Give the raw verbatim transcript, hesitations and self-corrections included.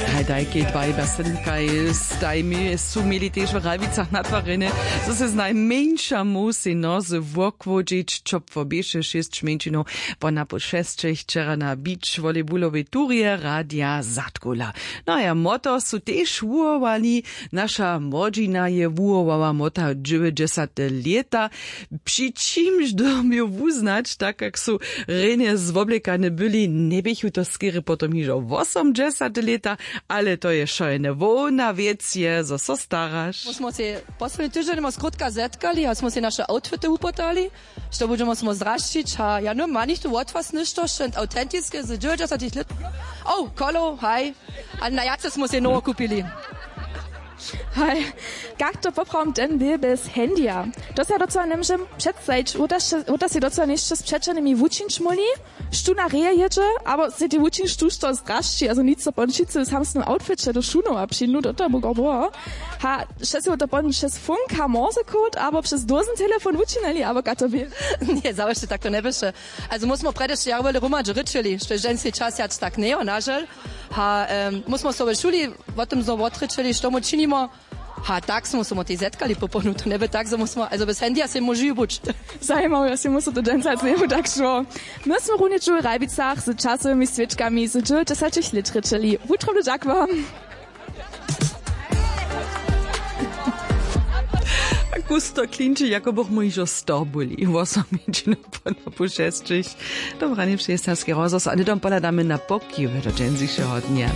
Haj dajkej dwaj basenkaj stajmi su měli tež w Ralwicach natwarjene, zo se znajmjeńša móhł sej nozy wokłódźić. Ćopło běše, šěsć mjeńšinow po napoł šesćich wčera na beach volleybulowej turje radja zadkula. No a ja moto su tež wuhowali. Naša młodźina je wuhowała mota dźewjećdźesate lěta, při čimž dyrbju wuznać, tak kak su rjenje zwoblekane byli, njeběchu to skerje potom hižo wosomdźesate lěta. Ale to je wšojene hłowna wěc je zo so staraš. Smo sej posledni tyždźeń mos krótka zetkali a smo sej naše outfity wupytali, što budźemo smo zdrašćić a ja no ma nichtó wot was něšto wšent autentiske z dźewjećdźesatych lět. Oh kolo haj. A na jace smo sej nowo kupili. Haj, kak to poprawom ten bě bez handyja? To se docyła njemóžem předstajić. Woda sej docyła něšće z přećelnymi wučińć móhli, štó na reje jědźe, abo sej tej wučińć štó što zdrašći, azo nic so pon wšitcy w samsnym outfiće do šunowa přińdu do toho bugo było. Ha, wšesy to pon přez funka morsekód abo přez dózen telefon wučinili abo ka to bě? Nje zawěsće tak to njeběše. Azo mósmo prjedy šće jaro wjele hromadźe rěčili što je ženski čas jac tak njejo nažel. Ha, mósmo so w šuli wo tym znow wotrěčili što my činimo. Ha tak smo so motej zetkali poponu to njeby tak zo mósmo azo bez handyja sej móžu buć. Zajimawo ja sej mósł to dźensa zemu tak šło. My smy runje dźu w ralbicach z časowymi swěčkami z dźewjećdźesatych lět rěčili wutrobny dźak wam. Kusto klinči jako bych mój hižo sto byli wosomječino po napoł šesćich. Dobranje přejestarski rozhłos a hnydom pohladamy na pokiwy do dźensišeho dnja.